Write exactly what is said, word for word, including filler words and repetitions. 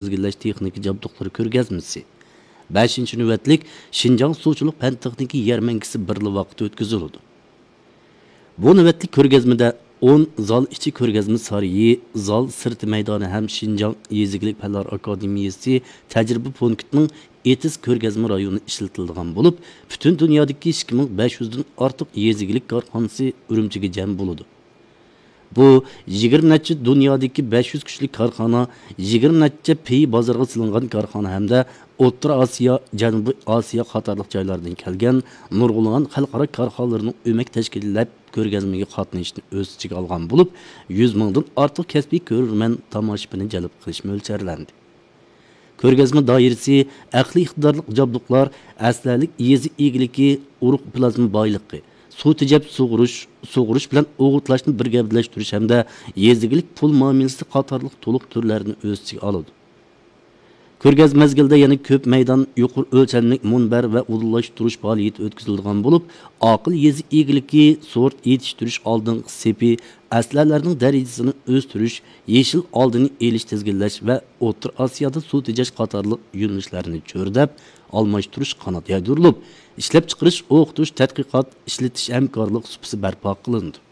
تىزگىنلەش تېخنىكا جابدۇقلىرى كۆرگەزمىسى، بەشىنچى نۆۋەتلىك شىنجاڭ سۇچىلىق پەن تېخنىكا يەرمەنكىسى بىرلا ۋاقىتتا ئۆتكۈزۈلىدۇ. بۇ نۆۋەتلىك كۆرگەزمىدە ئون زال ئىچى كۆرگەزمە سارىيى، زال سىرتى مەيدانى ھەم شىنجاڭ يېزا ئىگىلىك پەنلەر ئاكادېمىيەسى تەجرىبە پونكىتىنىڭ ئېتىز كۆرگەزمە رايونى ئىشلىتىلىدىغان بولۇپ، پۈتۈن دۇنيادىكى ئىككى مىڭ بەش يۈزدىن ئارتۇق يېزا ئىگىلىك كارخانىسى ئۈرۈمچىگە جەم بولىدۇ. بۇ يىگىرمە نەچچە دۇنيادىكى بەش يۈز كۈچلۈك كارخانا، يىگىرمە نەچچە پېيى بازارغا سېلىنغان كارخانا ھەمدە ئوتتۇرا ئاسىيا، جەنۇبىي ئاسىيا قاتارلىق جايلاردىن كەلگەن نۇرغۇنلىغان خەلقئارا كارخانىلارنىڭ ئۆمەك تەشكىللەپ كۆرگەزمىگە قاتنىشىشىنى ئۆز ئىچىگە ئالغان بولۇپ، يۈز مىڭدىن ئارتۇق كەسپىي كۆرۈرمەن، تاماشىبىننى جەلپ قىلىش مۆلچەرلەندى. كۆرگەزمە دائىرىسى ئەقلىي ئىقتىدارلىق جابدۇقلار، ئەسلىھەلىك يېزا ئىگىلىكى، ئۇرۇق پلازما بايلىقى، سۇ تېجەپ سۇغۇرۇش، سۇغۇرۇش بىلەن ئوغۇتلاشنى بىر گەۋدىلەشتۈرۈش ھەمدە يېزا ئىگىلىك پۇل مۇئامىلىسى قاتارلىق تولۇق تۈرلەرنى ئۆز ئىچىگە ئالىدۇ. كۆرگەزمە مەزگىلىدە يەنە كۆپ مەيدان، يۇقىرى ئۆلچەملىك مۇنبەر ۋە ئۇدۇللاشتۇرۇش پائالىيىتى ئۆتكۈزۈلىدىغان بولۇپ، ئاقىل يېزا ئىگىلىكى، سورت يېتىشتۈرۈش ئالدىنقى سېپى، ئەسلىھەلەرنىڭ دەرىجىسىنى ئۆستۈرۈش، يېشىل ئالدىنى ئېلىش، تىزگىنلەش ۋە ئوتتۇرا ئاسىيادا سۇ تېجەش قاتارلىق يۆنىلىشلەرنى چۆرىدەپ، ئالماشتۇرۇش قانات يايدۇرۇلۇپ، ئىشلەپچىقىرىش، ئوقۇتۇش، تەتقىقات، ئىشلىتىش ھەمكارلىق سۇپىسى بەرپا قىلىنىدۇ.